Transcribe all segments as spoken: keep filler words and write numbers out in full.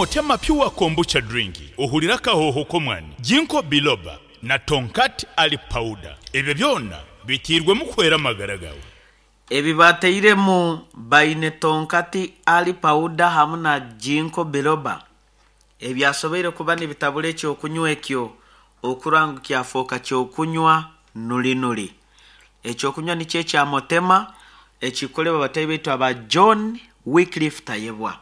Motema Pure Kombucha Drink ohurire akahooho k'omwani, Ginkgo Biloba na Tongkat Ali Powder. Ebyo byona biteirwemu kuhwera amagara gaawe. Ebi bateiremu baine Tongkat Ali Powder hamu na Ginkgo Biloba ebyasoboire kuba nibitabura ekyokunywa ekyo okurora ngu kyafooka kyokunywa nuri nuri. Ekyokunywa nikyo ekya Motema ekikukolebwa bataahi baitu aba John Wycliffe Tayebwa.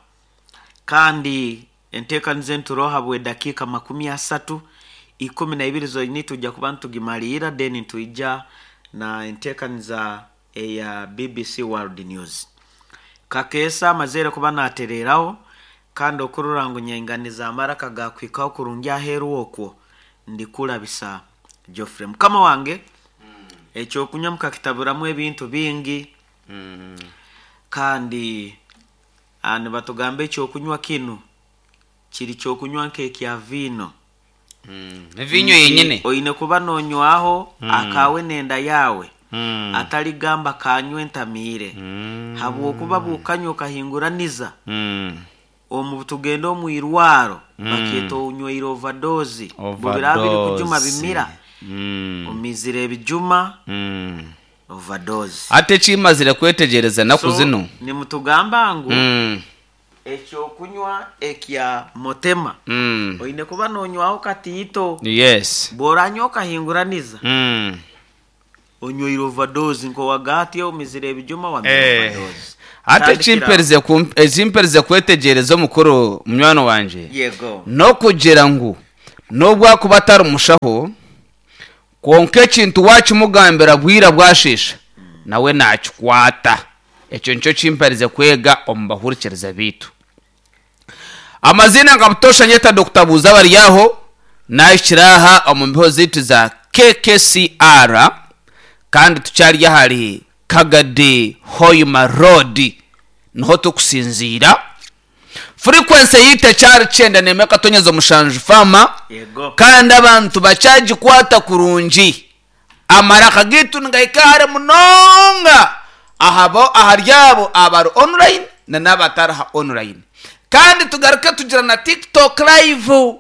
Kandi enteekaniza enturoho habw'edakiika makumi asatu ikumi na ibiri zonyini tujja kuba nitugimaliira then nitwija na enteekaniza eya B B C World News. Kakeesa amazeire kuba natereeraho kandi okurora ngu nyainganiza amaraka gakuhikaho kurungi aheeru okwo ndikurabisa Geoffrey. Mukama wange, ekyokunywa mukakitaburamu ebintu bingi kandi ah, nibatugamba ekyokunywa kinu kiri kyokunywa nk'ekya viino. Viinyo yenyine. Oine kuba nonywaho akawe nenda yawe, ataligamba kanywe ntamiire, habwokuba bwokanywa okahinguraniza omu tugenda omu irwaro bakyeta onyweire overdose. Bubiraba biri kujuma bimira omizire ebijuma, overdose. Ate ekimazire kwetegereza naku So, zino nimutugamba ngu Mm, ekyokunywa ekya Motema mm. oine kuba nonywaho katiito. Yes bworanywa okahinguraniza, Mm. onyweire overdose nkowagati omizire ebijuma wamira Eh. overdose. Ate Tandikira ekimperize kum- ekimperize kwetegereza, omukuru munywani wanje, yego n'okugira ngu n'obwakuba atari mushaho, kwonka ekintu wakimugambira bwira bwashiisha nawe nakikwata. Ekyo nikyo kimperize kwega omu bahurikiriza biitu. Amazina nka butosha nyeta Doctor Buuza bari aho nahikira aha omu mbiho zaitu za K K C R, kandi tukyari ahari Kagadi Hoima Road niho tukusinziira. Frequency yitu ekyari kyenda nemwe katonyeza omushanju fama. Yego kandi abantu bakyagikwata kurungi. Amaraka gitu nigahika hare munonga ahabo ahari abo abari online na n'abatari ha online. Kandi tugaruke tugira na TikTok live.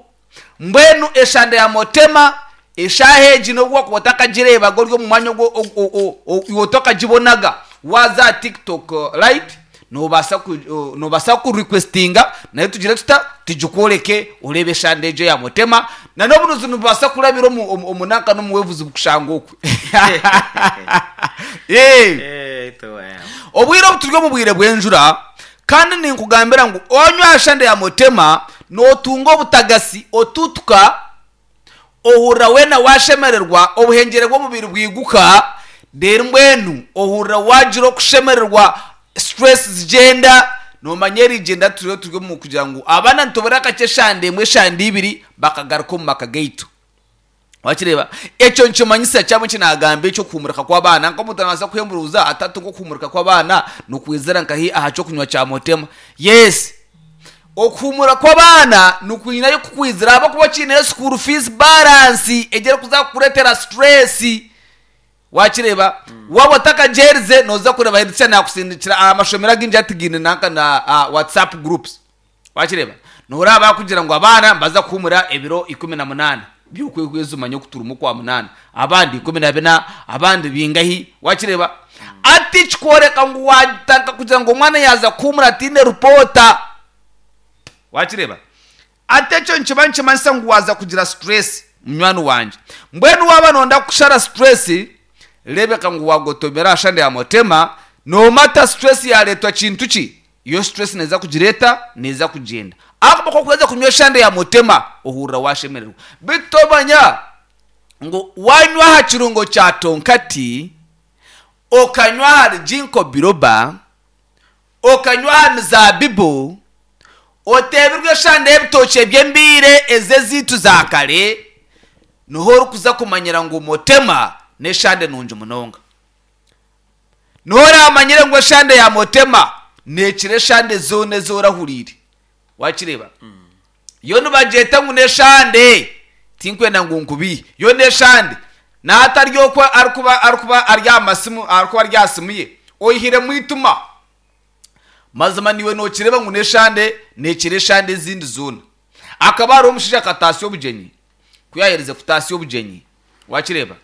Mbwenu eshanda ya Motema eshaha egi nobwo wakuba otakagireebaga ori omu mwanya ogwo iwe otakagibonaga, waza TikTok uh, live nobaasa ku- uh, nobaasa kurequestinga naye tugire tuta tugikworeke oreebe eshanda egyo ya Motema. Na n'obunuzi nibubaasa kurabira omu- omu omu nanka n'omuwevuzi bukushanga okwe. Eh. Eh, tuwe. Obwire obu turi omu bwire bw'enjura, kandi ninkugambira ngu onywa ashanda ya Motema notunga obutagasi, otutuka, ohurira weena washemererwa, obuhengyere bw'omubiri bwiguka. Rero mbwenu ohurira wagira okushemererwa, stress zigyenda. Nomanya erigyenda turiyo turi omu kugira ngu abaana nitubura akakye eshanda emwe, eshanda ibiri, bakagaruka omu maka gaitu. Wakireba ekyo nkimanyisa kyamwe kinagamba ekyokuhumurika kw'abaana. Nk'omuntu anabaasa kuhemburuza atatu nk'okuhumurika kw'abaana nukwizira nkahi aha kyokunywa kya Motema. Yes, okuhumura kw'abaana nukwinayo kukwizira abakuba kiineyo school fees balance egere kuza kukuretera stress. Wakireba waba otakagyerize noza kureba hedisha nakusindikira amashomero agingi atigiine nanka na uh, WhatsApp groups. Wakireba noraba kugira ngu abaana mbaza kuhumura ebiro ikumi na munaana by'okwezi, umanye okuturumu kwa munana, abandi ikumi na bina, abandi bingahi. Wakireba ati kikworeka ngu wataka kugira ngu omwana yaza kuhumura atine rupota. Wakireba ate ekyo nikiba nikimanyisa ngu waza kugira stress, munywani wanje. Mbwenu waba nonda kushara stress, rebeka ngu wagotomera ashanda ya Motema. Nomata stress yaretwa kintu ki, iyo stress neza kugireta neza kugenda akaboko kuweza kunywa eshanda ya Motema ohurira washemererwa. Bitomanya ngu wanywa aha kirungo kya tonkati, okanywa ahari ginkgo biloba, okanywa aha mizabibu, otebirwe eshanda y'ebitookye by'embiire eze ziitu za kare, niho orikuza kumanyira ngu Motema n'eshande nungi munonga. Niho oramanyire ngu eshande ya Motema nekira eshande zoona ezorahuriire. Wakireba yo nibagyeta ngu n'eshande, tinkwenda ngu nkubihe, yo n'eshande n'atari okwo arikuba arikuba ari aha masimu, arikuba ari aha simu ye oyihiremu ituma. Mazima niwe nokireba ngu neshande nekira eshande ezindi zoona. Akaba hariho omushaija akatasya obugyenyi, ku yaaherize kutasya obugyenyi wakireba,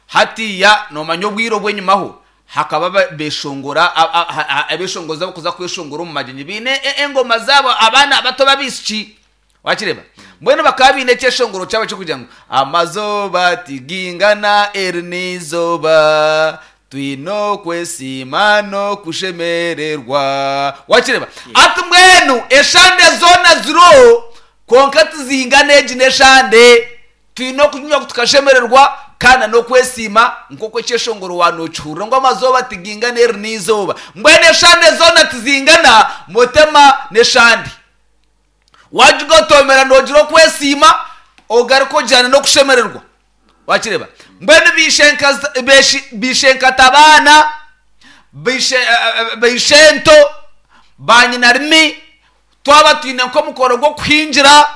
hatiya noomanya obwire obw'enyimaho hakaba ba- beshongora a- a- a- a- abeshongozi abakuza kweshongora omu magyenyi baine e- engoma zaabo, abaana bato b'abaishiki, wakireba. Mbwenu bakaba baine ekyeshongoro kyabo ekirikugira ngu amazoba tigingana eri n'eizooba, twine okwesiima n'okushemererwa, wakireba. Ati mbwenu eshande zoona ziriho, kwonka tizingana egi n'eshande, twine okunywa tukashemererwa kandi n'okwesiima nk'oku ekyeshongoro waanokihurira ngu amazooba tigingana eri n'eizooba. Mbwenu eshande zoona tizingana, mutema n'eshande wagigotomera nogira okwesiima, ogaruka ogyana n'okushemererwa, wakireba. Mbwenu bishenka- beshi- bishenkatabaana, bishe- eh, eh, bishento banyinarimi, twaba twine nk'omukoro gw'okuhingira,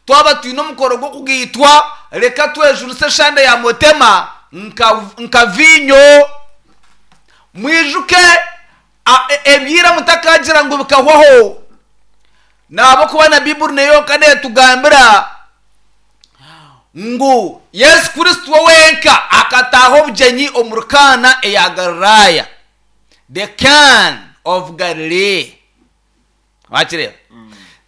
twaba twine omukoro gw'okugaitwa, reka twejunise eshande ya mutema nka, nka vinyo. Mwijuke a- e- ebyira mutakagira ngu bikahwaho, nabo na Bibuli neyonka netugambira ngu Yesu Kristo wenka akataaha obugyenyi omu Kaana eya Galilaya, the Can of Galilee, wakireba,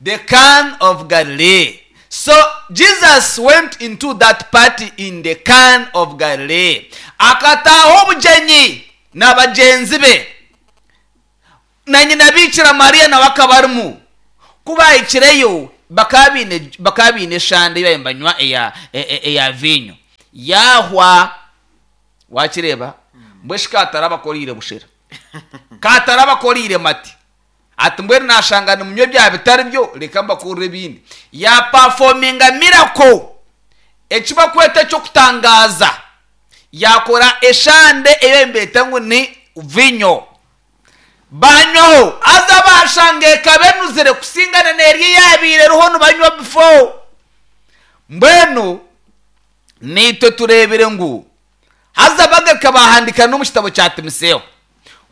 the Can of Galilee. So Jesus went into that party in the Can of Galilee, akataaha obugyenyi na bagyenzi be, na nyina Bikira Mariya nawe akaba arimu. Ku bahikireyo bakaba baine bakaba baine eshande ei banywa eya e- e- eya vinyo, yahwa, wakireba. Mbweshi katara bakoriire bushera, katara bakoriire mati, ati mbwenu nashanga nimunywa bya bitari byo, reka mbakurire ebindi. Yaperforminga miracle, eki bakweta ekyokutangaza, yakora eshande eyo mbeta ngu ni vinyo, banywaho, aza bashanga ekaba enuzire kusingana n'eryo yabiire eriho nibanywa before. Mbwenu nitwe turebire ngu haza bagaruka bahandika no mu kitabo kya Timoteyo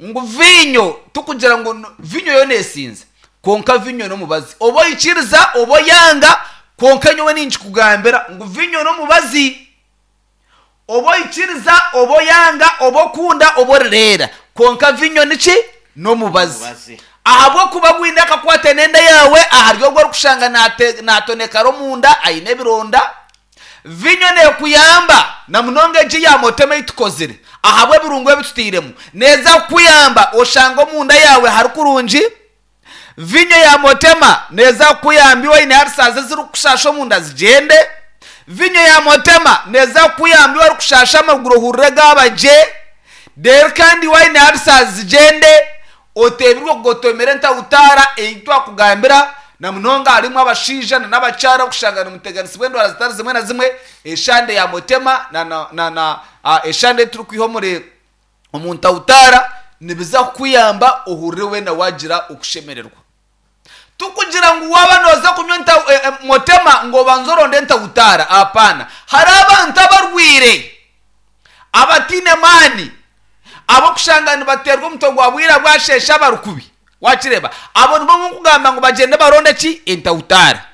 ngu vinyo, tukugira ngu no- vinyo yo nesinze, konka vinyo n'omubazi, oba oyikiriza oba oyanga, konka nyowe ninkikugambira ngu vinyo n'omubazi, oba oyikiriza oba oyanga, oba okunda oba orireera, konka vinyo niki? N'omubazi. Omubazi. Ahabw'okuba gwine akakwate n'enda yawe, ahari ogwo orikushanga nate- natonekara omunda aine ebironda. Vinyo nekuyamba na munonga egi ya motema eitukozire ahabw'ebirungo ebitutairemu, neeza kukuyamba oshanga omunda yawe hari kurungi. Vinyo ya motema neeza kukuyamba iwe oine ulcers ezirikukushasha omunda zigyende. Vinyo ya motema neeza kukuyamba iwe orikushasha amaguru ohurire gaaba gye. Rero kandi iwe oine ulcers zigyende, oteebirwe kugotomera entawutaara ei twakugambira. Na munonga harimu abashaija na n'abakyara okushanga nimuteganisibwa endwara zitari zimwe na zimwe, eshande ya motema na, na, na, na uh, eshande ei turikwiha omuri omu ntawutaara nibiza kukuyamba ohurire weena wagira okushemererwa. Tukugira ngu waba noza kunywa nta- eh, eh, motema ngo obanze oronde entawutaara, apana. Hari abantu abarwire abatine maani, abokushanga nibaterwa omutwe gwa bwira bwashesha abarukubi, wakireba. Abo nibo nkugamba ngu bagyende baronde ki? Entawutaara.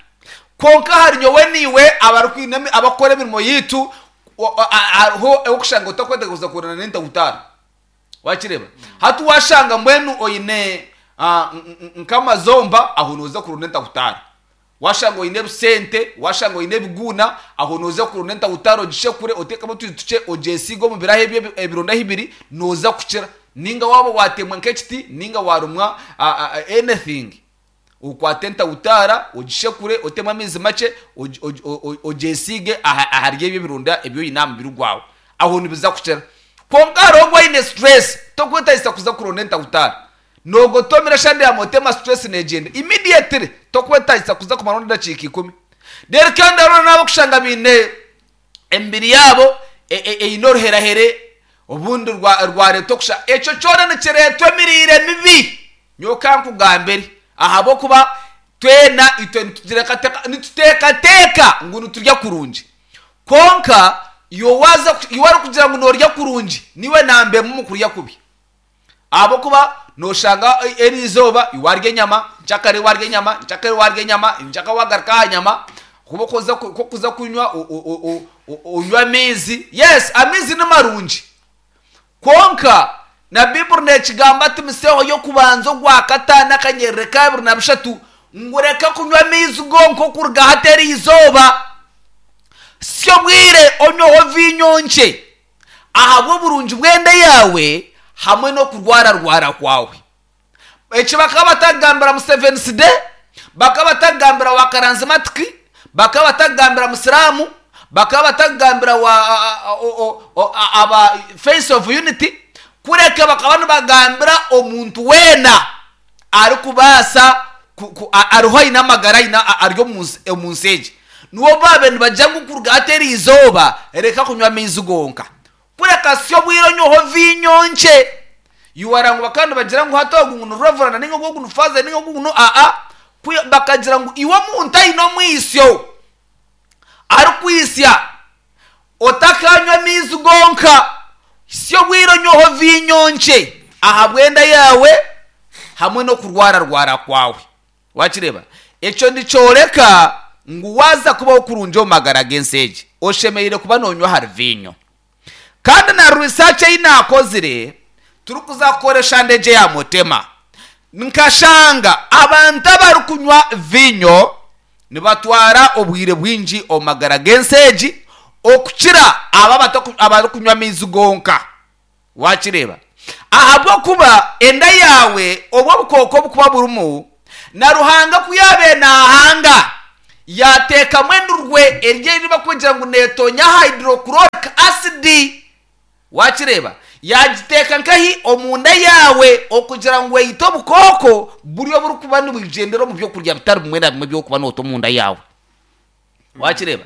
Konka hari nyowe niwe abarikwine abakora emirimo yitu, wa- a- a- hariho okushanga otakwetega kuza kurana n'entawutaara, wakireba. Hati washanga mbwenu oine ah, n- n- nk'amazomba, aho noza kurunda entawutaara. Washanga oine ebisente, washanga oine ebiguuna, aho noza kurunda entawutaara, ogishekure, otekemu otuzi tukye, ogyesiige omu biraho ebyo ebironda bibiri, noza kukira. Ninga waba watemwa nk'ekiti, ninga warumwa ah, ah, anything, okwate entawutaara, ogishekure, otemu amaizi makye, ogi- ogi- o- o- ogyesiige aha- ahari ebyo ebironda ebi oine aha mubiri gwawe, aho nibiza kukira. Konka hariho ogwo oine stress, tokwetagisa kuza kuronda entawutaara, nogotomera eshande ya motema, stress negyenda immediately, tokwetagisa kuza kumara edakiika ikumi. Rero kandi hariho n'abakushanga baine emibiri yabo e- e- eine oruherahere obundi rwa- rwareeta okusha, ekyo kyona nikireetwa emiriire mibi. Nyowe nkugambire, ahabw'okuba twena itwe nitugirekateka- nituteekateeka ngu niturya kurungi, konka iwe waza iwe arikugira ngu norya kurungi, niwe nambemu mu kurya kubi, ahabw'okuba Noshanga eri izooba warya enyama, nkyakare warya enyama, nkyakare warya enyama, nkyaka wagaruka aha nyama, kuba okuza kuza kunywa onywa amaizi. Yes, amaizi ni marungi, kwonka na Bibuli nekigamba Timoteyo y'okubanza ogwa kataano akanyerere ka abiri na bishatu ngu reka kunywa amaizi gonka okuruga hati eri izooba, si obwire onyweho viinyo nkye ahabw'oburungi bw'enda yaawe hamwe n'okurwararwara kwawe. Eki bakaba batagambira Museveni de, bakaba batagambira wa karanzimatiki, bakaba batagambira musiraamu, bakaba batagambira wa aba Face of Unity, kureka bakaba nibagambira omuntu weena arikubaasa ariho aine amagara ari omu nsi egi. Niwo baabe nibagira ngu kuruga hati eri izooba reka kunywa amaizi gonka, kureka si obwire onyweho viinyo nkye. Iwara ngu bakaba nibagira ngu hati ogu ngu ni reverend ninga ogu ni father ninga ogu ni aa, bakagira ngu iwe omuntu aine omwisyo arikwisya otakanywa amaizi gonka, si obwire onyweho viinyo nkye ahabw'enda yaawe hamwe n'okurwararwara kwawe. Wakireeba? Ekyo nikyoreka ngu waaza kubaho kurungi omu magara g'ensi egi, oshemereire kuba noonywa ahari viinyo. Kandi na research ei naakozire turikuza kukoresha ndegye ya mutema, nkashanga abantu abarikunywa viinyo nibatwara obwire bwingi omu magara g'ensi egi okukira abo abarikunywa amaizi gonka. Wakireeba? Ahabw'okuba enda yaawe obwo obukooko obukuba burimu, na Ruhanga ku yaabaire naahanga yateekamu endurwe eri eri bakugira ngu neetonya hydrochloric acid. Wakireeba? Yagiteeka nkahi omunda yaawe okugira ngu eyite obukooko buri oburikuba nibugyendera omu byokurya bitari bimwe na bimwe by'okuba noota omunda yaawe. Wakireeba?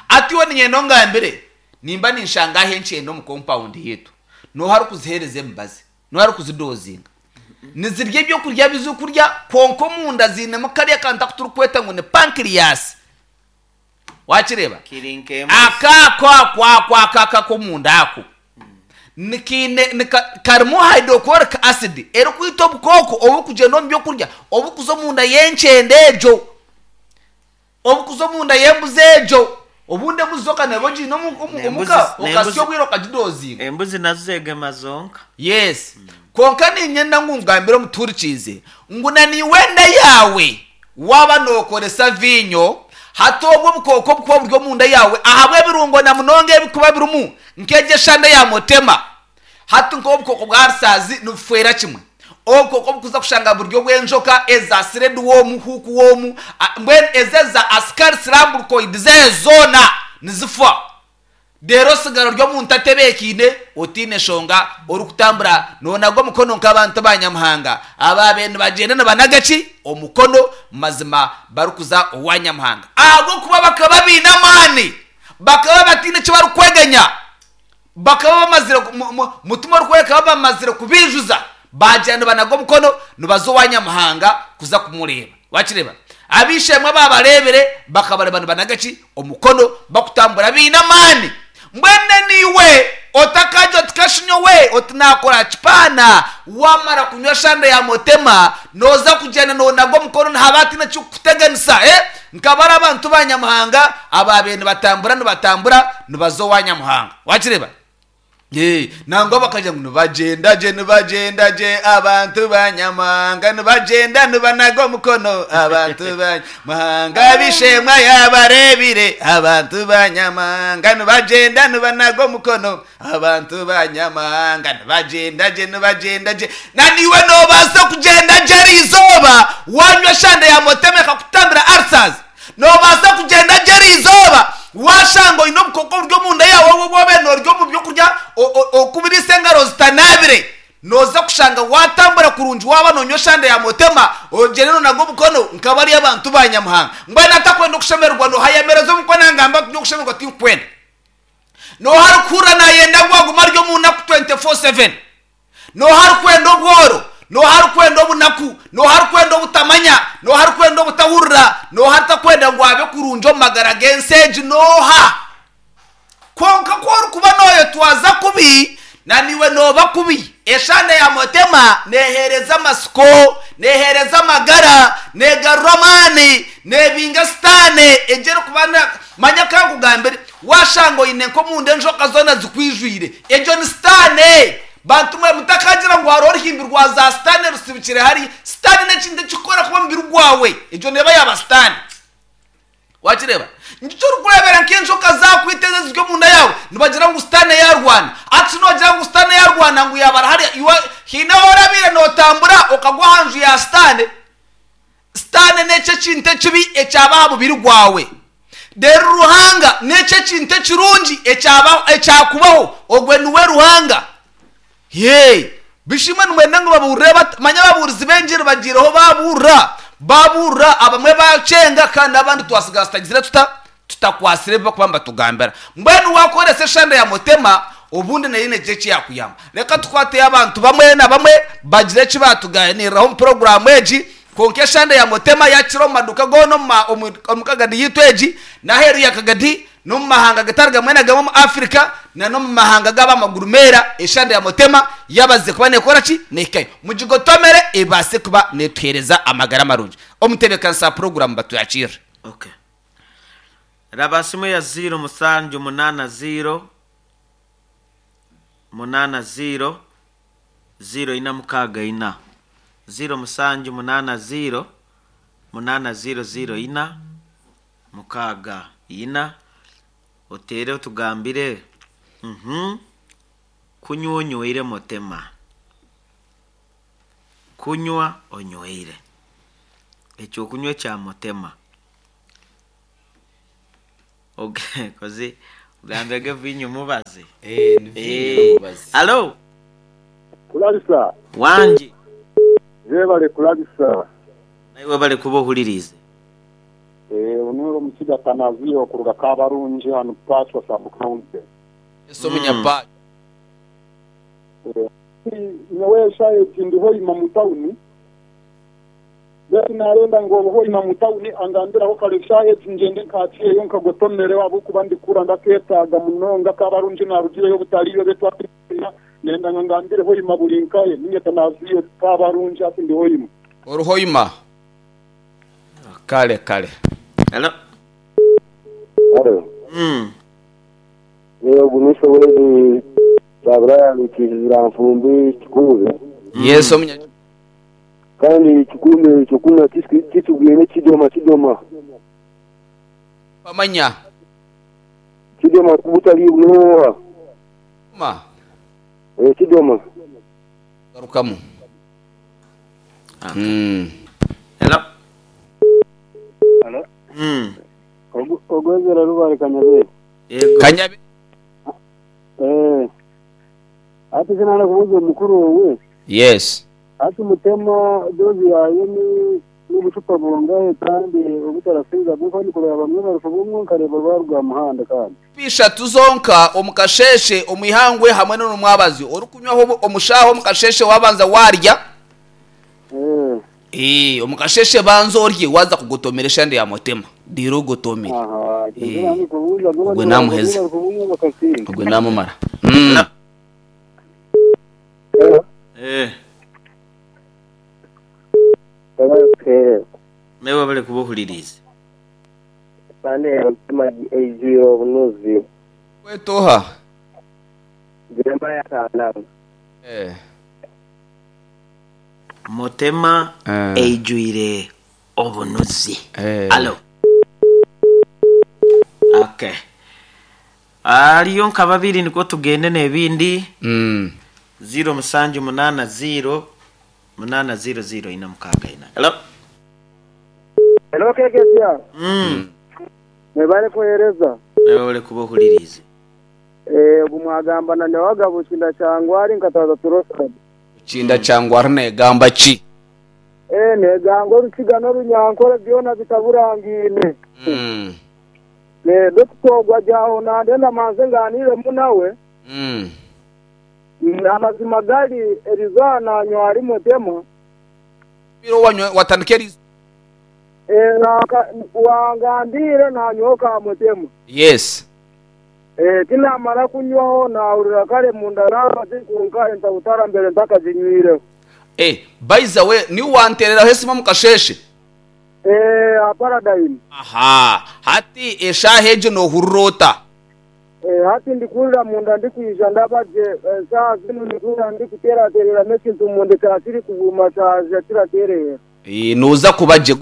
Ati iwe niinyenda ongambire, nimba ninshanga aho enkyende omu compound yaitu, nooha arikuziheereza emibazi, nooha arikuzidozinga, nizirya ebyokurya bizirikurya, kwonka omunda ziinemu kariya kantu aku turikweta ngu ni pancreas. Wakireeba? Kiri nk'embuzi. Akaako ako ako ako ak'omunda ako nikiine nika karimu hydrochloric acid erikwita obukooko oburikugyenda omu byokurya obukuza omunda y'enkyende egyo, obukuza omunda y'embuzi egyo. Obundi embuzi zo neba ogiine omuka okasya obwire okagidozinga. Embuzi nazo zegema zonka. Yes. Kwonka niinyenda ngu ngambire omutuhurikiize ngu na niiwe enda yaawe waaba nookoresa viinyo, hati obwo obukooko obukuba buri omunda yaawe ahabw'ebirungo na munonga ebikuba birimu nk'egyo eshande ya mutema, hati nk'obukooko bwa rusaazi nibufeera kimwe. Obukooko obukuza kushanga buri obw'enjoka eza sireduwomu, hukuwomu, mbwenu ezi eza ascaris lumbricoides zoona nizifa. Reero osigara ori omuntu atebeekaine, otaine nshonga, orikutambura noonaga omukono nk'abantu ba Nyamuhanga abaabaire nibagyenda nibanaga ki? Omukono mazima barikuza owa Nyamuhanga. Ahabw'okuba bakaba baine amaani, bakaba bataine eki barikweganya, bakaba bamazire mutima orikworeka bamazire kubiijuza, baagyenda nibanaga omukono nibaza owa Nyamuhanga kuza kumureeba. Wakireeba? Ab'eishe-emwe baabareebire bakabareeba nibanaga ki? Omukono, bakutambura baine amaani. Mbwenu niiwe otakajya oti kashinyowe oti naakora kipaana, wamara kunywa eshande ya mutema nooza kugyenda noonaga omukono nihaba hataine ekirikukuteganisa. Eh? Nkaba ari abantu ba Nyamuhanga abaabaire nibatambura nibatambura nibaza owa Nyamuhanga. Wakireeba? Nangwa bakagira ngu nibagyenda gye nibagyenda gye abantu ba Nyamuhanga nibagyenda nibanaga omukono abantu ba Nyamuhanga ab'eishe-emwe yabareebire abantu ba Nyamuhanga nibagyenda nibanaga omukono abantu ba Nyamuhanga nibagyenda gye nibagyenda gye. Na niiwe noobaasa kugyenda gye eri izooba wanywa eshande ya mutema ekakutambira ulcers. Noobaasa kugyenda gye eri izooba washanga oine obukooko buri omunda yaawe obu wabaire noorya omu byokurya okubiriisa engaro zitanaabire, nooza kushanga watambura kurungi waaba noonywa eshande ya mutema ogyende noonaga omukono nk'abari abantu ba Nyamuhanga. Mbwenu atakwenda okushemererwa nooha ayemereza omukono angamba ati okushemererwa tinkwenda. Nooha arikuhurira naayenda ngu agume ari omu naku twenty four seven. Nooha arikwenda obworo, nooha arikwenda obunaku, nooha arikwenda obutamanya, nooha arikwenda obutahurira, nooha aritakwenda ngu abe kurungi omu magara g'ensi egi, nooha? Kwonka ku orikuba nooyetwaza kubi, Na niwe noba kubi. Eshande ya motema nehereza amasiko, nehereza amagara, negarura amani, nebinga sitane egere kubana manya kankugambire washango ine nko munda enjoka zona zikwijwire. Ejo ni sitane. Bantu mwe mutakagira ngo haro ruhimbirwa za sitane rusibikire hari sitane n'ekindi kikora kuba mubiri gwawe. Ejo neba yaba sitane. Wakireba nicyo rukurebera nk'enjoka zakwiteza ziryo munda yawe nibagira ngu sitane yarwana ati nogira ngu sitane yarwana ngu yabara hari iwa hina horabire notambura okagwa hanju ya sitane. Sitane n'ekyo kintu ekibi ekyaba mubiri gwawe. Rero Ruhanga n'ekyo kintu ekirungi ekyaba ekyakubaho ogwe niwe Ruhanga. Ye bishimwe nimwenda ngu baburire manya baburizi b'enjiri bagireho baburra baburra abamwe bacenga kandi abandi twasigaye tutagizire tuta tutakwasire bakubamba tugambira. Mbwenu wakoresa eshanda ya motema obundi nayo nekyo ekiyakuyamba. Reka tukwate abantu bamwe na bamwe bagire eki batuganiriraho omu poroguramu egi. Konka eshanda ya motema yakira omu maduka goona omu kagadi yitu egi n'aheeru ya kagadi n'omu mahanga gatari gamwe na gamwe omu Afrika na n'omu mahanga g'abamaguru meera. Eshanda ya motema yabaze kuba nekora ki nekayo mugigotomere ebase kuba netuhereza amagara marungi. Omutebekanisa poroguramu batuyakira. Okay. Raba simu ya zero musanju munana zero munana zero zero ina mukaga ina zero musanju munana zero munana zero zero ina mukaga ina otere otugambire mhm kunywa onyweire motema kunywa onyweire ekyo kunywa kya motema. Okay, kozi ugambege vinyu mubaze. Eh, ni vinyu mubaze. Hello. Kulabisa. Wanji. Zebale kulabisa. Naiwe bale kubohulirize. Eh, onoro musiga tanazio kuruga kabarunji hanu patwa sub county. Eso munyapa. Eh, nyewe shaye tindiho ima mutauni. Beti narenda ngo ho ima mutauni angambira ho kale shaye ngende nkatiye yo nkagotomere wabo kubandi kura ndaketaga munonga kabarunji narugire yo butaliyo betwa nenda ngambire ho ima bulinkaye ninye tanaziyo kabarunji ati ndiho ima. Oruho ima. Kale kale. Hello. Hello. Mm. Leo gumisho wedi Sabra lukizira mfumbi kikuze. Yes omunya. Kandi kikume kikuma kitugene kidoma kidoma. Pamanya. Kidoma kubutali bunoa. Ma. Eh kidoma. Garukamu. Mm. Hello. Hello. Mm. Ogwezera rubare kanyabe. Yego. Kanyabe. Eh. Ati sinana kubuza mukuru wowe. Yes. Ati mutema dozi yayo ni n'ubucupa bungahe kandi ubutarafiza kuko ni kureba bamwe barufubumwe nkareba barwa muhanda kandi. Pisha tuzonka omukasheshe omwihangwe hamwe n'umwabazi orukunywaho omushaho omukasheshe wabanza warya. Eh. Eh, omukasheshe banzo orye waza kugotomera shande ya motema. Diro gotomera. Aha, Eh. Ubwo namuheza. Ubwo namumara. Mm. Eh. Eh. Mewe bale kubohulirize. Pande mtema ejiro bunuzi. Wetoha. Jeremiah kana. Eh. Motema Eh. eijuire obunuzi. Eh. Alo. Okay. Aliyo nka babiri niko tugende n'ebindi. Mm. zero musanju munana zero munana zero zero ina mukaga ina. Hello. Hello kekesia. Mm. Mebale kuhereza. Mewe bale kubohulirize. Eh gumwagamba na wagabo kinda cyangwa ari nkataza turosa. Kinda cyangwa ari negamba ki? Eh negango rukiga runyankore byona bitaburangine. Mm. Ne dutogwa jaho nande namanze nganire munawe. Mm. Amazima gali erizana nywari mutema. Biro wanywe watandike Eh na wangambire na nyoka mutema. Yes. Eh, tinamara kunywaho nahurira kare munda namaze kunka entabutara mbere ntakazinywireho. Eh, by the way ni wantereraho esimu mukasheshe. Eh, a paradigm. Aha, hati eshaha egyo nohurira ota? Eh, hati ndikurira munda ndikwija ndabaje eh, saa zino ndikura ndikuteraterera ekintu munda kyakiri kuguma kyaja kiraterera. Eh, noza kuba gye.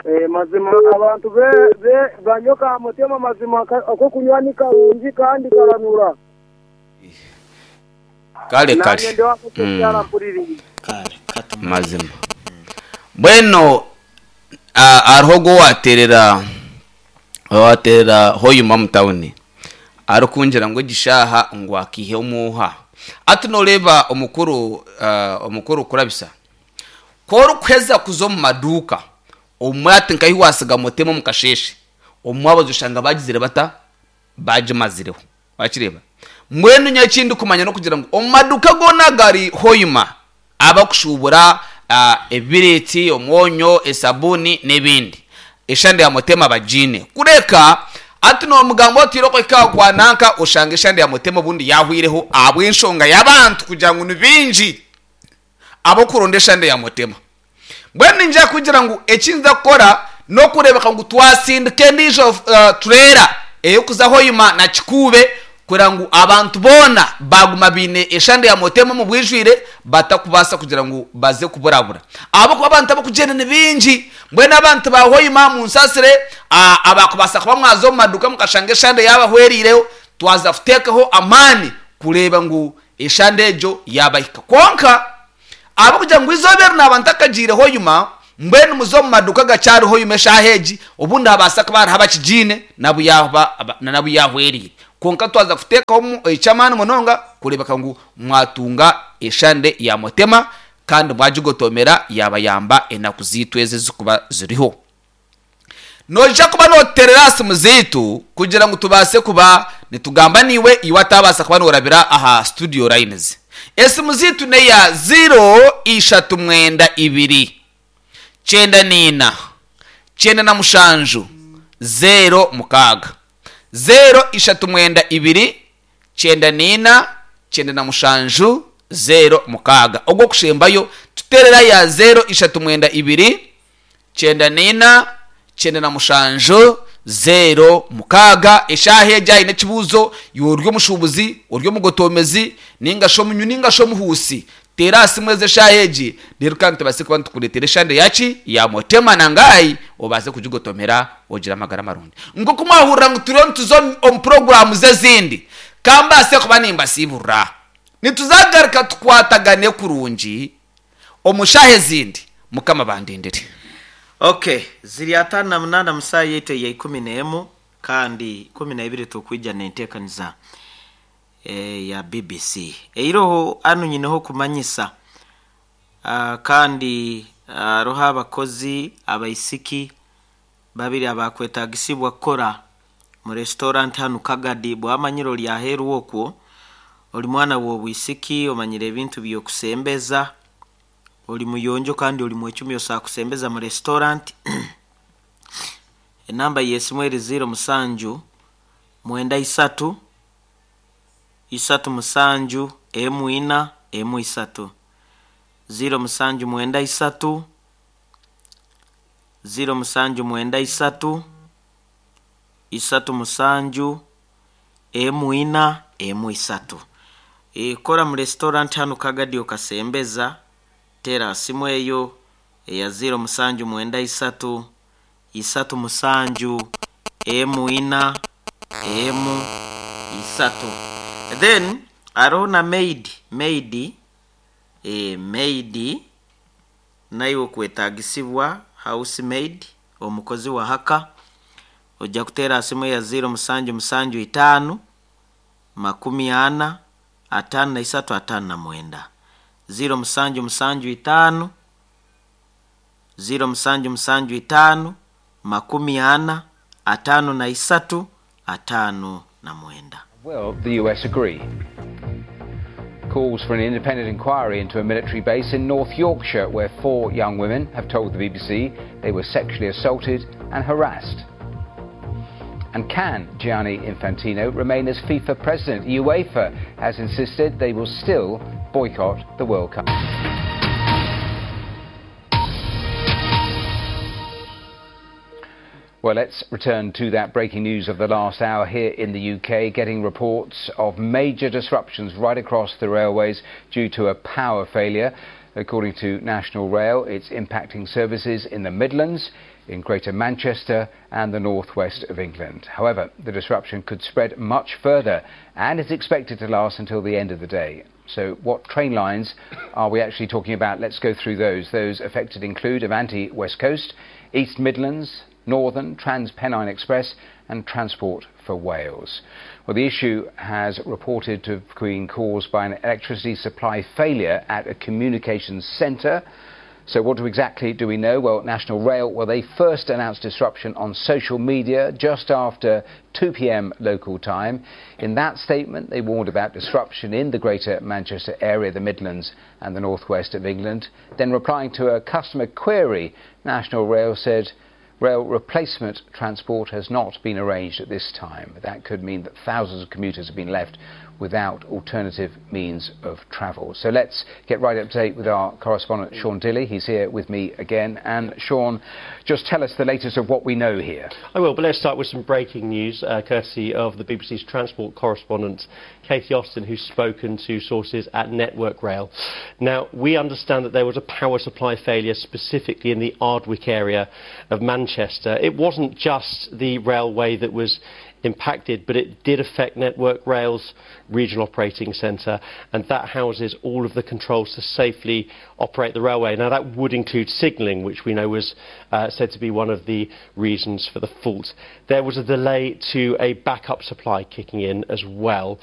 Eh, mazima abantu be be banyoka mutema mazima ako kunywa ni karungi kandi karanura. Kale kale. Nanye ndiwakukyara mpuriri. Kale kata Mazima. Bueno, hariho go waterera waterera hoyuma mu tawuni arikungira ngo gishaha ngo akihe omuha ati noreba omukuru uh, omukuru kurabisa korukuheza kuza omu maduuka omwe ati nkahi wasiga mutema omu kasheshe omwe abazoshanga bagizire bata bagimazireho wakireba. Mbwenu nyekindi kumanya nokugira ngu omu maduuka goona gari hoyuma abakushubura uh, ebireti, omwonyo, esabuni n'ebindi eshande ya mutema bagine kureka ati nomugambo otire okweka kwa nanka oshanga eshande ya mutema obundi yahwireho abw'enshonga y'abantu kugira ngu ni bingi abokuronda eshande ya mutema. Mbwenu ninja kugira ngu ekinza kukora nokurebeka ngu twasindika endiijo uh, turera eyokuza hoyuma na kikuube kugira ngu abantu boona baguma biine eshande ya mutema mu bwijwire batakubaasa kugira ngu baze kuburabura ahabwokuba abantu abakugenda ni bingi. Mbwenu abantu ba hoyuma munsasire abakubaasa kuba mwaza omu maduuka mukashanga eshande yabahweriireho twaza kuteekaho amaani kureeba ngu eshande egyo yabahika. Kwonka abakugira ngu izooba eri naaba ntakagiire hoyuma mbwenu muze omu maduuka gakyariho hoyuma eshaaha egi obundi habaasa kuba hariho abakigiine nabu yaba nabu yahweriire. Kwonka twaza kuteekaho ekyamaani munonga kureebeka ngu mwatunga eshande ya mutema kandi mwagigotomera yabayamba enaku ziitu ezi ezikuba ziriho. Noija kuba noterera simu ziitu kugira ngu tubaase kuba nitugamba niwe iwe atabaasa kuba norabira aha studio lines. Esimu ziitu neya zero ishatu mwenda ibiri kyenda niina kyenda na mushanju zero mukaaga zero ishatu mwenda ibiri kyenda niina kyenda na mushanju zero mukaaga. Ogwo kushembayo tuterera ya zero ishatu mwenda ibiri kyenda niina kyenda na mushanju zero mukaaga. Eshaha egyo aine ekibuuzo iwe ori omushuubuzi ori omugotomezi ninga shi omunywi ninga shi omuhuusi tera aha simu ezi eshaha egi reero kandi tubaase kuba nitukureetera eshande yaki ya mutema nangayi obaase kugigotomera ogira amagara marungi. Nk'oku mwahurira ngu turiyo nituza omu puroguramu z'ezindi kambaase kuba nimbasiiburira nituzagaruka tukwatagane kurungi omu shaaha ezindi. Mukama bandindire. Okay, ziri atano na munana musaa yaitu ya ikumi n'emu kandi ikumi na ibiri tukwija nenteekaniza e, ya B B C. Eiroho anu nyineho kumanyisa uh, kandi aroho uh, abakozi abaisiki babiri abakwetagisibwa kukora mu restaurant hanu Kagadi. Bwamanyire ori aheeru okwo oli mwana w'obwisiki omanyire ebintu by'okusembeza oli muyonjo kandi oli mwecumi osakusembeza mu restaurant. Enamba y'esimu eri zero musanju mwenda isatu isatu musanju emu ina emu isatu zero musanju mwenda isatu zero musanju mwenda isatu isatu musanju emu ina emu isatu. E, kora mu restaurant hanu Kagadi okasembeza tera simu eyo eya zero musanju mwenda isatu isatu musanju emu ina emu isatu. Then aroho na maid maid e, maid nayo okwetagisibwa housemaid omukozi wa haka ojja kutera simu ya zero musanju musanju itaano makumi ana atano na isatu atano na mwenda zero musanju musanju itaano zero musanju musanju itaano makumi ana atano na isatu atano na mwenda. Will the U S agree? Calls for an independent inquiry into a military base in North Yorkshire where four young women have told the B B C they were sexually assaulted and harassed. And can Gianni Infantino remain as FIFA president? UEFA has insisted they will still boycott the World Cup. Well, let's return to that breaking news of the last hour here in the U K, getting reports of major disruptions right across the railways due to a power failure. According to National Rail, it's impacting services in the Midlands, in Greater Manchester and the northwest of England. However, the disruption could spread much further and is expected to last until the end of the day. So what train lines are we actually talking about? Let's go through those. Those affected include Avanti West Coast, East Midlands, Northern, Trans-Pennine Express and Transport for Wales. Well, the issue has reported to have been caused by an electricity supply failure at a communications centre. So what do exactly do we know? Well, National Rail, well, they first announced disruption on social media just after two P M local time. In that statement, they warned about disruption in the Greater Manchester area, the Midlands and the northwest of England. Then replying to a customer query, National Rail said rail replacement transport has not been arranged at this time. That could mean that thousands of commuters have been left without alternative means of travel. So let's get right up to date with our correspondent Sean Dilley. He's here with me again. And Sean, just tell us the latest of what we know here. I will, but let's start with some breaking news, uh, courtesy of the B B C's transport correspondent, Katie Austin, who's spoken to sources at Network Rail. Now, we understand that there was a power supply failure specifically in the Ardwick area of Manchester. It wasn't just the railway that was impacted, but it did affect Network Rail's regional operating centre, and that houses all of the controls to safely operate the railway. Now, that would include signalling, which we know was uh, said to be one of the reasons for the fault. There was a delay to a backup supply kicking in as well.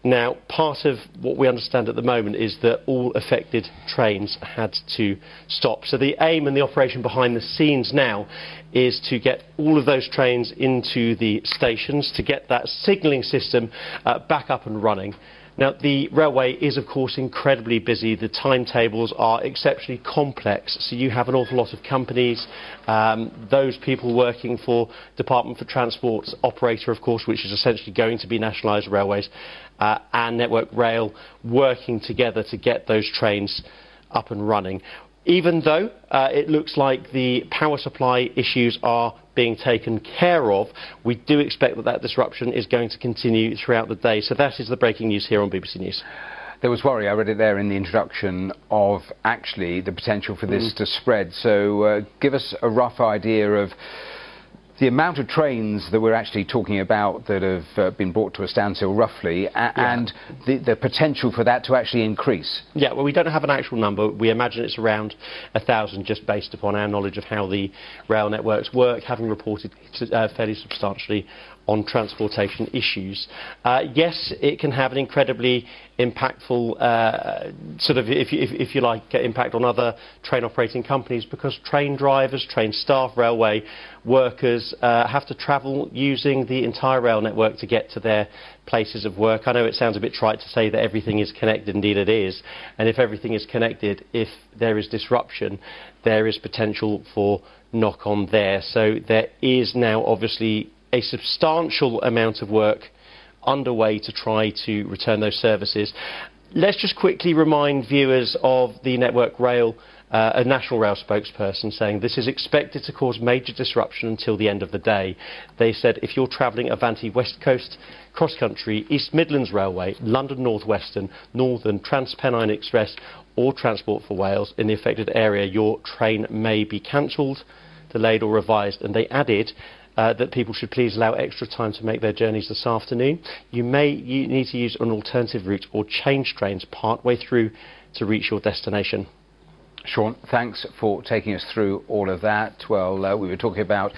Now, part of what we understand at the moment is that all affected trains had to stop. So the aim and the operation behind the scenes now is to get all of those trains into the stations, to get that signalling system uh, back up and running. Now, the railway is, of course, incredibly busy. The timetables are exceptionally complex, so you have an awful lot of companies, um, those people working for Department for Transport's operator, of course, which is essentially going to be nationalised railways, uh, and Network Rail working together to get those trains up and running. Even though uh, it looks like the power supply issues are being taken care of, we do expect that that disruption is going to continue throughout the day. So that is the breaking news here on B B C News. There was worry, I read it there in the introduction, of actually the potential for this mm. to spread. So uh, give us a rough idea of the amount of trains that we're actually talking about that have uh, been brought to a standstill roughly, a yeah. and the, the potential for that to actually increase. Yeah, well, we don't have an actual number. We imagine it's around a thousand, just based upon our knowledge of how the rail networks work, having reported uh, fairly substantially on transportation issues. Uh, yes, it can have an incredibly impactful, uh, sort of, if, if, if you like, impact on other train operating companies, because train drivers, train staff, railway workers uh, have to travel using the entire rail network to get to their places of work. I know it sounds a bit trite to say that everything is connected, indeed it is, and if everything is connected, if there is disruption, there is potential for knock-on there. So there is now obviously a substantial amount of work underway to try to return those services. Let's just quickly remind viewers of the Network Rail, uh, a National Rail spokesperson saying this is expected to cause major disruption until the end of the day. They said if you're travelling Avanti West Coast, Cross Country, East Midlands Railway, London North Western, Northern, Trans-Pennine Express or Transport for Wales in the affected area, your train may be cancelled, delayed or revised. And they added Uh, that people should please allow extra time to make their journeys this afternoon. You may you need to use an alternative route or change trains partway through to reach your destination. Sean, thanks for taking us through all of that. Well, uh, we were talking about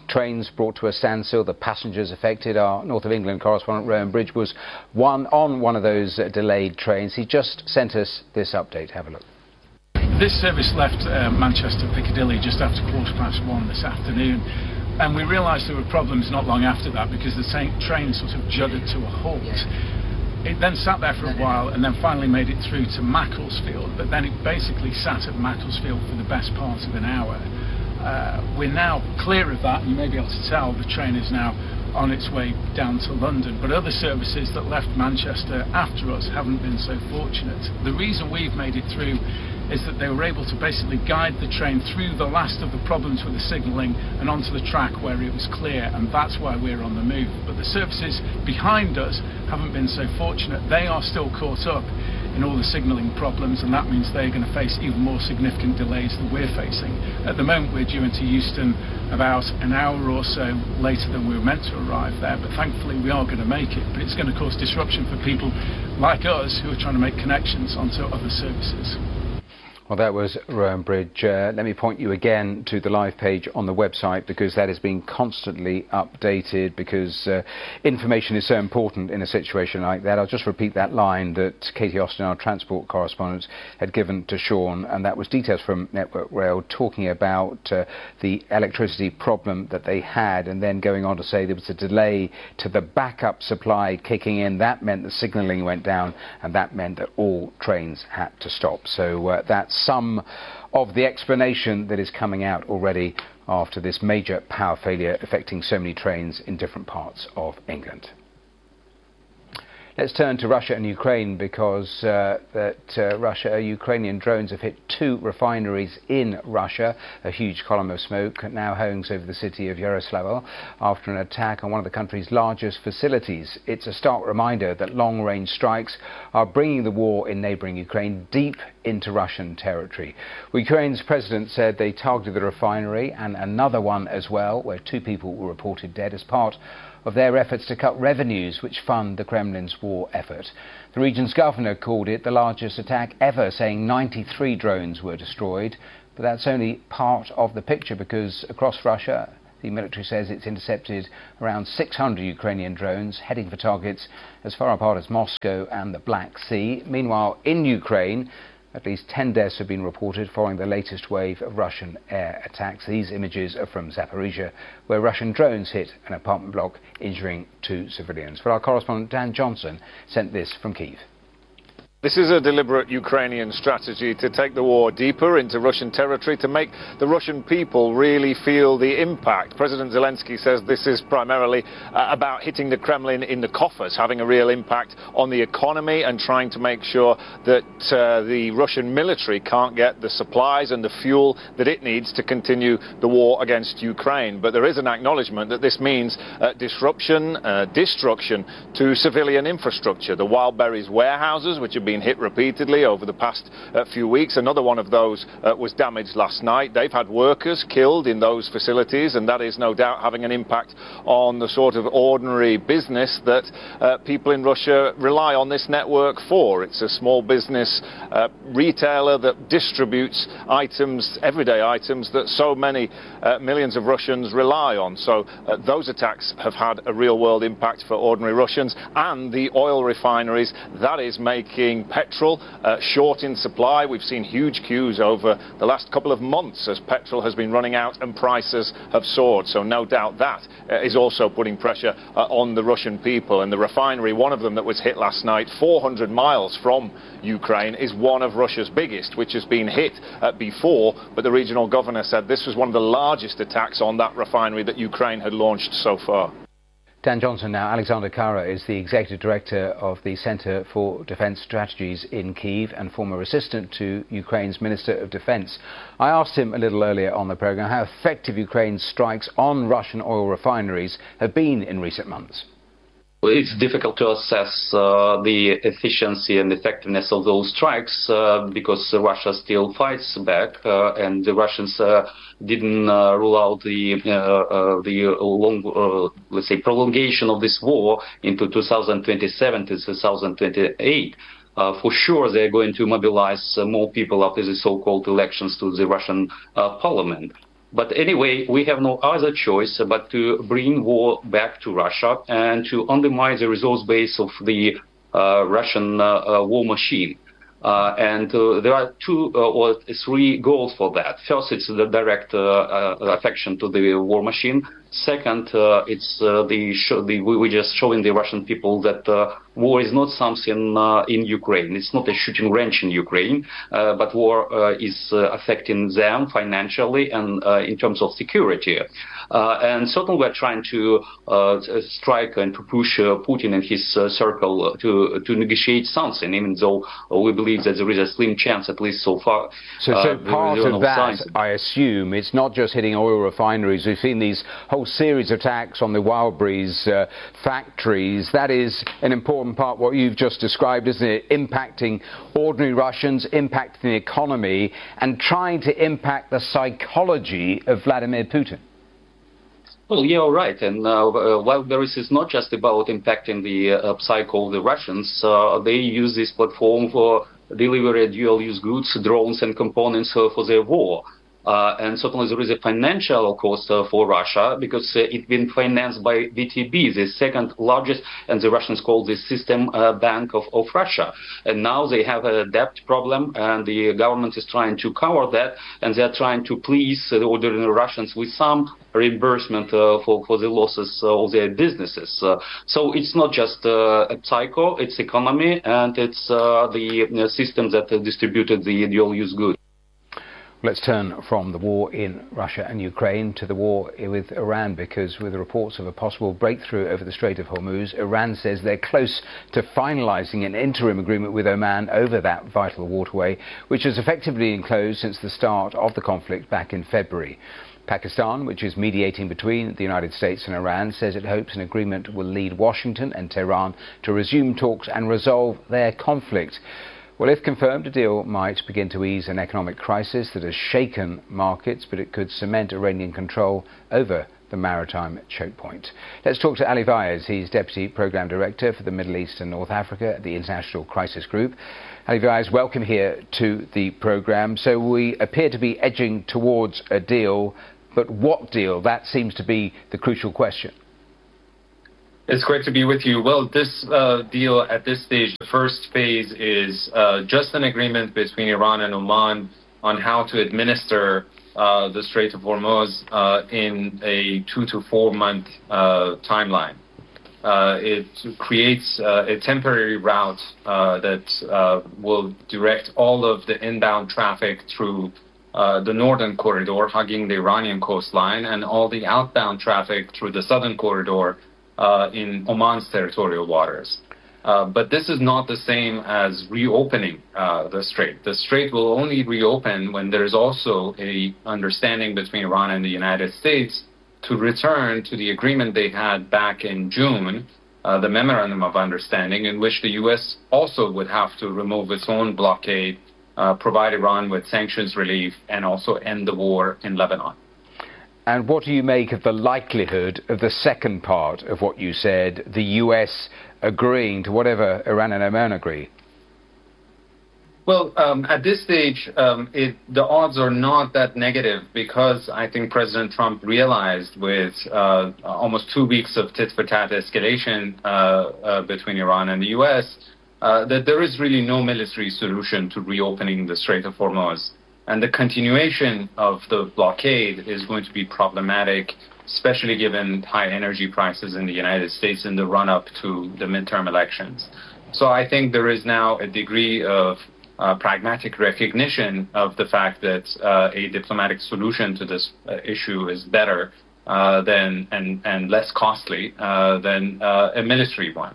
trains brought to a standstill, the passengers affected. Our North of England correspondent, Rowan Bridge, was one on one of those uh, delayed trains. He just sent us this update. Have a look. This service left uh, Manchester Piccadilly just after quarter past one this afternoon. And we realised there were problems not long after that, because the same train sort of juddered to a halt. Yeah. It then sat there for a while and then finally made it through to Macclesfield, but then it basically sat at Macclesfield for the best part of an hour. Uh, we're now clear of that, and you may be able to tell the train is now on its way down to London. But other services that left Manchester after us haven't been so fortunate. The reason we've made it through is that they were able to basically guide the train through the last of the problems with the signalling and onto the track where it was clear, and that's why we're on the move. But the services behind us haven't been so fortunate. They are still caught up in all the signalling problems, and that means they're going to face even more significant delays than we're facing. At the moment, we're due into Euston about an hour or so later than we were meant to arrive there, but thankfully we are going to make it. But it's going to cause disruption for people like us who are trying to make connections onto other services. Well, that was Rowan Bridge. Uh, let me point you again to the live page on the website, because that is being constantly updated, because uh, information is so important in a situation like that. I'll just repeat that line that Katie Austin, our transport correspondent, had given to Sean, and that was details from Network Rail talking about uh, the electricity problem that they had, and then going on to say there was a delay to the backup supply kicking in. That meant the signalling went down, and that meant that all trains had to stop. So uh, that's some of the explanation that is coming out already after this major power failure affecting so many trains in different parts of England. Let's turn to Russia and Ukraine, because uh, that uh, Russia, uh, Ukrainian drones have hit two refineries in Russia. A huge column of smoke now hangs over the city of Yaroslavl after an attack on one of the country's largest facilities. It's a stark reminder that long-range strikes are bringing the war in neighbouring Ukraine deep into Russian territory. Ukraine's president said they targeted the refinery and another one as well, where two people were reported dead, as part of their efforts to cut revenues which fund the Kremlin's war effort. The region's governor called it the largest attack ever, saying ninety-three drones were destroyed. But that's only part of the picture, because across Russia, the military says it's intercepted around six hundred Ukrainian drones heading for targets as far apart as Moscow and the Black Sea. Meanwhile, in Ukraine, at least ten deaths have been reported following the latest wave of Russian air attacks. These images are from Zaporizhzhia, where Russian drones hit an apartment block, injuring two civilians. But our correspondent Dan Johnson sent this from Kyiv. This is a deliberate Ukrainian strategy to take the war deeper into Russian territory, to make the Russian people really feel the impact. President Zelensky says this is primarily uh, about hitting the Kremlin in the coffers, having a real impact on the economy and trying to make sure that uh, the Russian military can't get the supplies and the fuel that it needs to continue the war against Ukraine. But there is an acknowledgement that this means uh, disruption, uh, destruction to civilian infrastructure. The Wildberries warehouses, which have been hit repeatedly over the past uh, few weeks. Another one of those uh, was damaged last night. They've had workers killed in those facilities, and that is no doubt having an impact on the sort of ordinary business that uh, people in Russia rely on this network for. It's a small business uh, retailer that distributes items, everyday items, that so many uh, millions of Russians rely on. So uh, those attacks have had a real-world impact for ordinary Russians, and the oil refineries, that is making petrol uh, short in supply. We've seen huge queues over the last couple of months as petrol has been running out and prices have soared. So no doubt that uh, is also putting pressure uh, on the Russian people. And the refinery, one of them that was hit last night, four hundred miles from Ukraine, is one of Russia's biggest, which has been hit uh, before. But the regional governor said this was one of the largest attacks on that refinery that Ukraine had launched so far. Dan Johnson now. Alexander Kara is the executive director of the Center for Defense Strategies in Kyiv and former assistant to Ukraine's Minister of Defense. I asked him a little earlier on the program how effective Ukraine's strikes on Russian oil refineries have been in recent months. It's difficult to assess uh, the efficiency and effectiveness of those strikes uh, because Russia still fights back, uh, and the Russians uh, didn't uh, rule out the uh, uh, the long, uh, let's say, prolongation of this war into two thousand twenty-seven to two thousand twenty-eight. Uh, for sure, they're going to mobilize uh, more people after the so-called elections to the Russian uh, parliament. But anyway, we have no other choice but to bring war back to Russia and to undermine the resource base of the uh, Russian uh, uh, war machine. Uh, and uh, there are two uh, or three goals for that. First, it's the direct uh, uh, affection to the war machine. Second, uh, it's uh, the, show, the we we're just showing the Russian people that uh, war is not something uh, in Ukraine. It's not a shooting range in Ukraine, uh, but war uh, is uh, affecting them financially and uh, in terms of security. Uh, and certainly we're trying to uh, strike and to push uh, Putin and his uh, circle to, to negotiate something, even though we believe that there is a slim chance, at least so far. So, so uh, part there are of no that, signs. I assume, it's not just hitting oil refineries. We've seen these whole series of attacks on the Wildberries uh, factories. That is an important part, what you've just described, isn't it? Impacting ordinary Russians, impacting the economy, and trying to impact the psychology of Vladimir Putin. Well, yeah, all right. And uh, uh, Wildberries is not just about impacting the uh, psyche of the Russians. Uh, they use this platform for delivery dual-use goods, drones, and components uh, for their war. Uh, and certainly there is a financial cost uh, for Russia, because uh, it's been financed by V T B, the second largest, and the Russians call this system uh, bank of, of Russia. And now they have a debt problem, and the government is trying to cover that, and they're trying to please the ordinary Russians with some reimbursement uh, for, for the losses of their businesses. Uh, so it's not just uh, a psycho, it's economy, and it's uh, the system that uh, distributed the dual-use goods. Let's turn from the war in Russia and Ukraine to the war with Iran, because with the reports of a possible breakthrough over the Strait of Hormuz, Iran says they're close to finalizing an interim agreement with Oman over that vital waterway, which has effectively been closed since the start of the conflict back in February. Pakistan, which is mediating between the United States and Iran, says it hopes an agreement will lead Washington and Tehran to resume talks and resolve their conflict. Well, if confirmed, a deal might begin to ease an economic crisis that has shaken markets, but it could cement Iranian control over the maritime choke point. Let's talk to Ali Vaez. He's Deputy Program Director for the Middle East and North Africa at the International Crisis Group. Ali Vaez, welcome here to the program. So we appear to be edging towards a deal, but what deal? That seems to be the crucial question. It's great to be with you. Well, this uh, deal at this stage, the first phase is uh, just an agreement between Iran and Oman on how to administer uh, the Strait of Hormuz uh, in a two to four month uh, timeline. Uh, it creates uh, a temporary route uh, that uh, will direct all of the inbound traffic through uh, the northern corridor, hugging the Iranian coastline, and all the outbound traffic through the southern corridor Uh, in Oman's territorial waters. Uh, but this is not the same as reopening uh, the strait. The strait will only reopen when there is also a understanding between Iran and the United States to return to the agreement they had back in June, uh, the Memorandum of Understanding, in which the U S also would have to remove its own blockade, uh, provide Iran with sanctions relief, and also end the war in Lebanon. And what do you make of the likelihood of the second part of what you said, the U S agreeing to whatever Iran and Oman agree? Well, um, at this stage, um, it, the odds are not that negative, because I think President Trump realized with uh, almost two weeks of tit-for-tat escalation uh, uh, between Iran and the U S uh, that there is really no military solution to reopening the Strait of Hormuz. And the continuation of the blockade is going to be problematic, especially given high energy prices in the United States in the run-up to the midterm elections. So I think there is now a degree of uh, pragmatic recognition of the fact that uh, a diplomatic solution to this uh, issue is better uh, than and, and less costly uh, than uh, a military one.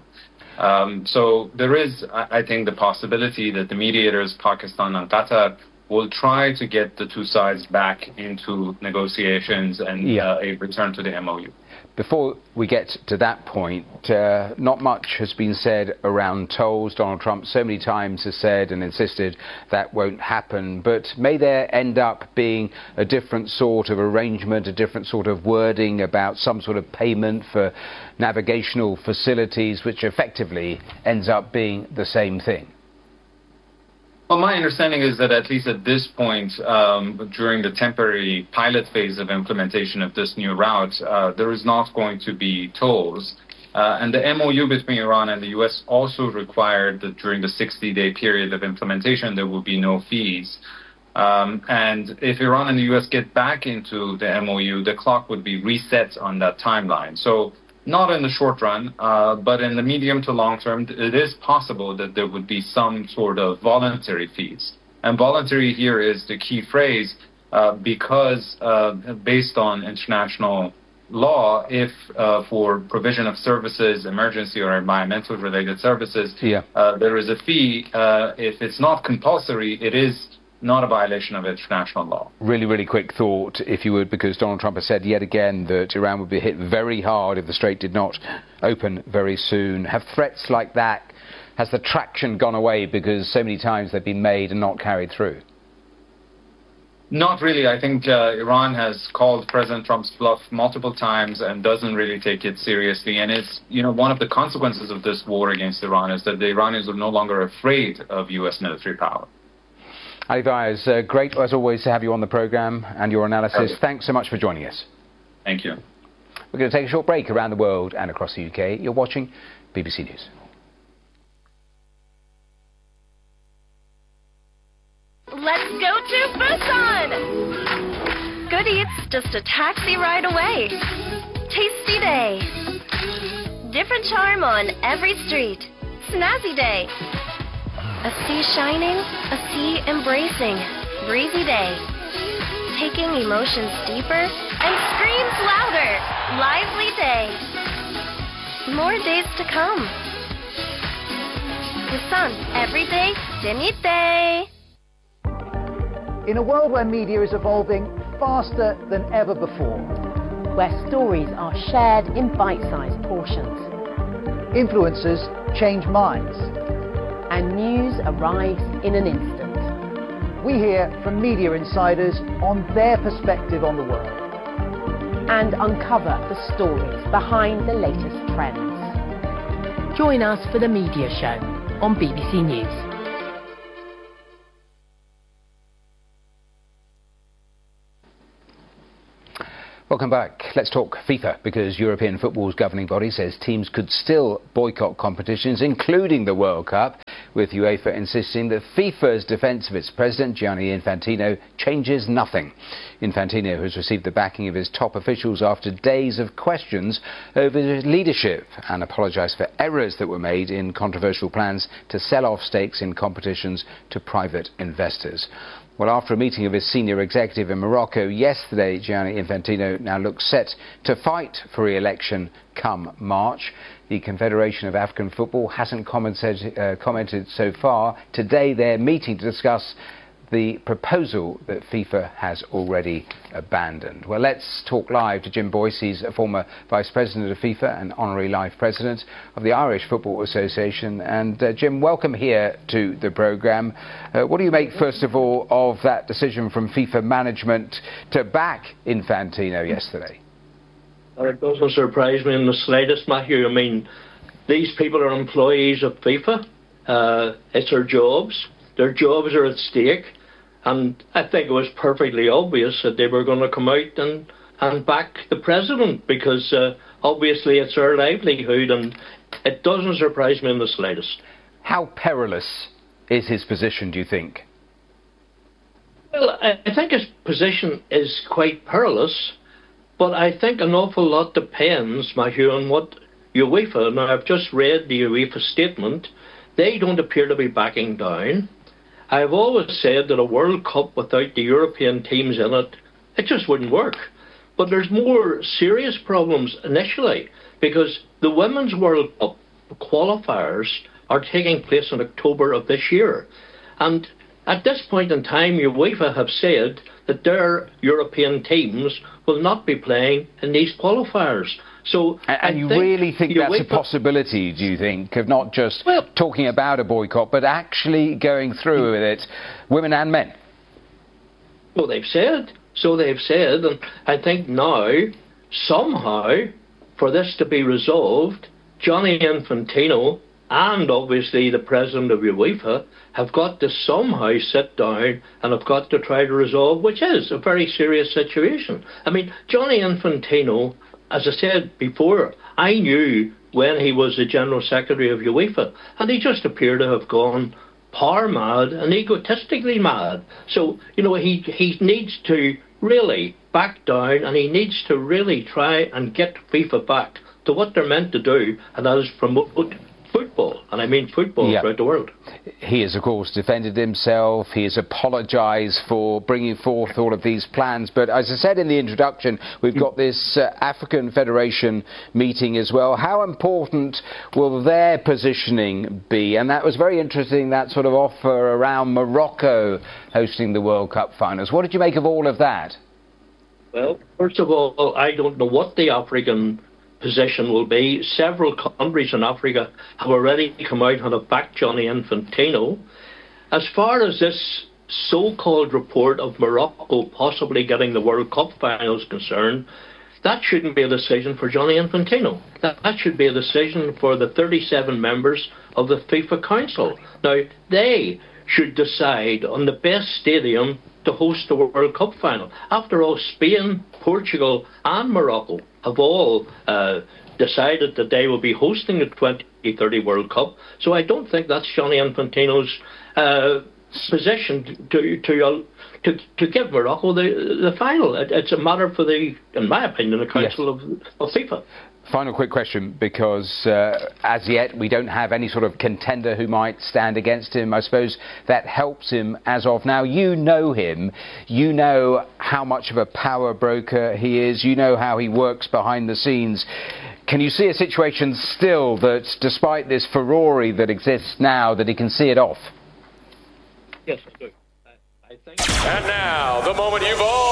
Um, so there is, I think, the possibility that the mediators, Pakistan and Qatar, will try to get the two sides back into negotiations and yeah. uh, a return to the M O U. Before we get to that point, uh, not much has been said around tolls. Donald Trump so many times has said and insisted that won't happen. But may there end up being a different sort of arrangement, a different sort of wording about some sort of payment for navigational facilities, which effectively ends up being the same thing? Well, my understanding is that at least at this point, um, during the temporary pilot phase of implementation of this new route, uh, there is not going to be tolls. Uh, and the M O U between Iran and the U S also required that during the sixty-day period of implementation, there will be no fees. Um, and if Iran and the U S get back into the M O U, the clock would be reset on that timeline. So not in the short run, uh, but in the medium to long term, it is possible that there would be some sort of voluntary fees. And voluntary here is the key phrase, uh, because uh, based on international law, if uh, for provision of services, emergency or environmental related services, yeah. uh, there is a fee. Uh, if it's not compulsory, it is not a violation of international law. Really, really quick thought, if you would, because Donald Trump has said yet again that Iran would be hit very hard if the strait did not open very soon. Have threats like that, has the traction gone away because so many times they've been made and not carried through? Not really. I think uh, Iran has called President Trump's bluff multiple times and doesn't really take it seriously. And it's, you know, one of the consequences of this war against Iran is that the Iranians are no longer afraid of U S military power. Ali Vaez, uh, great as always to have you on the programme and your analysis. Thanks so much for joining us. Thank you. We're going to take a short break around the world and across the U K. You're watching B B C News. Let's go to Busan! Good Eats, just a taxi ride away. Tasty day. Different charm on every street. Snazzy day. A sea shining, a sea embracing. Breezy day. Taking emotions deeper and screams louder. Lively day. More days to come. Busan, every day, day. In a world where media is evolving faster than ever before, where stories are shared in bite-sized portions, influencers change minds, and news arrives in an instant. We hear from media insiders on their perspective on the world and uncover the stories behind the latest trends. Join us for The Media Show on B B C News. Welcome back. Let's talk FIFA, because European football's governing body says teams could still boycott competitions, including the World Cup, with UEFA insisting that FIFA's defence of its president, Gianni Infantino, changes nothing. Infantino has received the backing of his top officials after days of questions over his leadership and apologised for errors that were made in controversial plans to sell off stakes in competitions to private investors. Well, after a meeting of his senior executive in Morocco yesterday, Gianni Infantino now looks set to fight for re-election come March. The Confederation of African Football hasn't commented, uh, commented so far. Today they're meeting to discuss the proposal that FIFA has already abandoned. Well, let's talk live to Jim Boyce. He's a former vice president of FIFA and honorary life president of the Irish Football Association. And uh, Jim, welcome here to the programme. Uh, what do you make, first of all, of that decision from FIFA management to back Infantino yesterday? Well, it doesn't surprise me in the slightest, Matthew. I mean, these people are employees of FIFA. Uh, it's their jobs. Their jobs are at stake, and I think it was perfectly obvious that they were going to come out and, and back the president, because uh, obviously it's their livelihood, and it doesn't surprise me in the slightest. How perilous is his position, do you think? Well, I think his position is quite perilous, but I think an awful lot depends, Matthew, on what UEFA... Now, I've just read the UEFA statement. They don't appear to be backing down. I've always said that a World Cup without the European teams in it, it just wouldn't work. But there's more serious problems initially, because the Women's World Cup qualifiers are taking place in October of this year. And at this point in time, UEFA have said that their European teams will not be playing in these qualifiers. So, and, and you really think that's a possibility, do you think, of not just well, talking about a boycott, but actually going through with it, women and men? Well, they've said. So they've said, and I think now, somehow, for this to be resolved, Gianni Infantino and obviously the president of UEFA have got to somehow sit down and have got to try to resolve, which is a very serious situation. I mean, Gianni Infantino, as I said before, I knew when he was the General Secretary of UEFA. And he just appeared to have gone power mad and egotistically mad. So, you know, he, he needs to really back down, and he needs to really try and get FIFA back to what they're meant to do, and that is promote football, and I mean football yeah. throughout the world. He has, of course, defended himself. He has apologised for bringing forth all of these plans. But as I said in the introduction, we've got this uh, African Federation meeting as well. How important will their positioning be? And that was very interesting, that sort of offer around Morocco hosting the World Cup finals. What did you make of all of that? Well, first of all, I don't know what the African position will be. Several countries in Africa have already come out and have backed Gianni Infantino. As far as this so-called report of Morocco possibly getting the World Cup finals concerned, that shouldn't be a decision for Gianni Infantino. That, that should be a decision for the thirty-seven members of the FIFA Council. Now, they should decide on the best stadium to host the World Cup final. After all, Spain, Portugal and Morocco have all uh, decided that they will be hosting the twenty thirty World Cup. So I don't think that's Gianni Infantino's uh, position to to, to to give Morocco the the final. It, it's a matter for the, in my opinion, the Council yes. of, of FIFA. Final quick question, because uh, as yet we don't have any sort of contender who might stand against him. I suppose that helps him as of now. You know him. You know how much of a power broker he is. You know how he works behind the scenes. Can you see a situation still that, despite this furore that exists now, that he can see it off? Yes, I do. I, I think. And now, the moment you've all